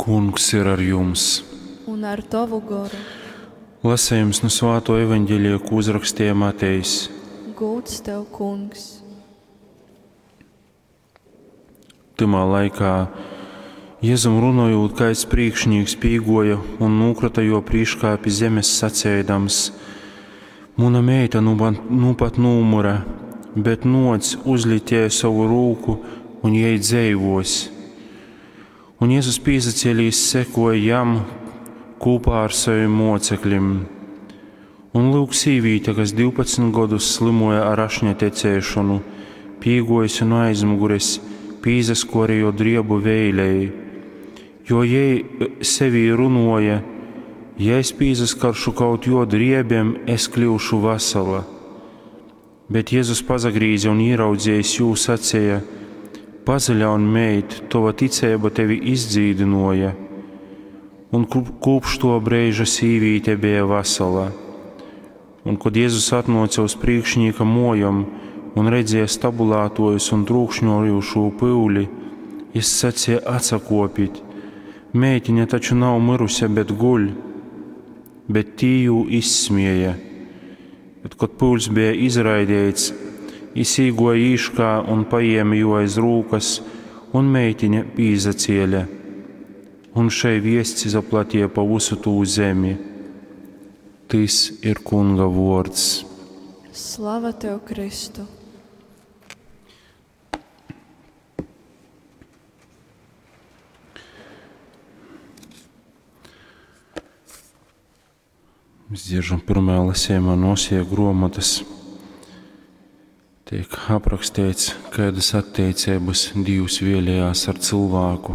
Kungs ir ar jums! Un ar tovu goru. Lasējums nu svāto evaņģelija, ko uzrakstīja Matejs. Gūds tev, kungs! Tymā laikā Jezum runojūt, kaids prīkšnīks pīguoja un nūkrita juo prīškā pi zemes saceidams: Muna meita nu, nu pat nūmyra, bet nuoc, uzlic jai sovu rūku, un jei dzeivuos. Un Jēzus pīsacēlīs sekoja jam kūpā ar saviem mocekļiem. Un lūk, sīvīte, kas 12 gadus slimoja ar ašņa tecēšanu, pīgojusi no aizmugures, pīzaskoja jo driebu veilei, jo jei sevī runoja, ja es pīzaskaršu kaut jo driebiem, es kļūšu vesela. Bet Jēzus pazagrīze un ieraudzījis jū sacīja: Pazaļaun, meit, tova ticība tevi izdzīdināja. Un kopš to brīža sīvīte bija vesela. Un, kad Jēzus atnāca uz priekšnieka mojam un redzēja stabulātojus un trūkšņojošo pyuli, jis sacīja: atsakopit, meitiņa taču nav mirusi, bet guļ. Bet tī jū izsmēja. Bet, kad pūls bija izraidīts, jis īgoja īškā un paēma jū aiz rūkas, un meitiņa pīzacēla. Un šai viests izaplatīja pa visu tū zemi. Tys ir Kunga vuords. Slava tev, Kristu! Mēs dzieržam pirmajā lasījumā no Osija gruomotas. Tiek aprakstīts, kādas attiecības Dievs vēlējās ar cilvēku.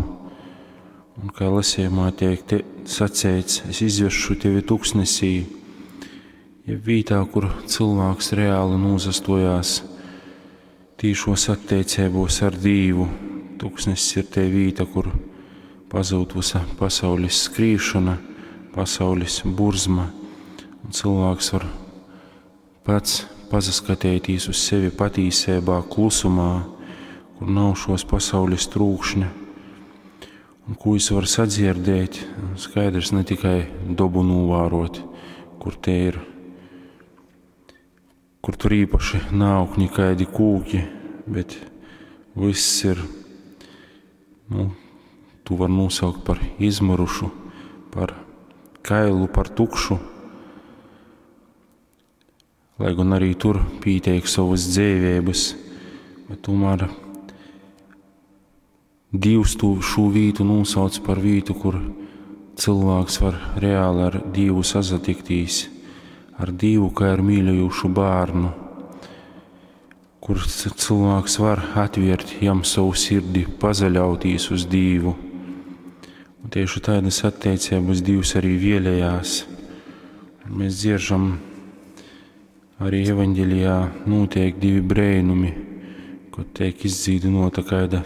Un kā lasījumā tiek te sacīts, es izvešu tevi tuksnesī, ja vītā, kur cilvēks reāli nūzastojās tīšos attiecībos ar Dīvu. Tuksnesis ir te vīta, kur pazūd visa pasaules skrīšana, pasaules burzma, un cilvēks var pats pasaskatīties uz sevi patīsībā, klusumā, kur nav šos pasaules trūkšņa, un ko es varu sadzirdēt, skaidrs ne tikai dobu novērot, kur te ir, kur tur īpaši nav nekādi kūki, bet viss ir, nu, tu var nosaukt par izmirušu, par kailu, par tukšu. Lai gan arī tur pīteik savas dzīvības, bet tomēr Dievs to šo vītu nosauc par vītu, kur cilvēks var reāli ar Dievu sazatiktīs, ar Dievu kā ar mīļojušu bērnu, kur cilvēks var atvērt jam savu sirdi, pazaļautīs uz Dievu. Un tieši tādas attiecības Dievs arī vēlējās. Un mēs dzieržam arī evaņģelijā notiek divi brēnumi, kad tiek izdzīdinota kāda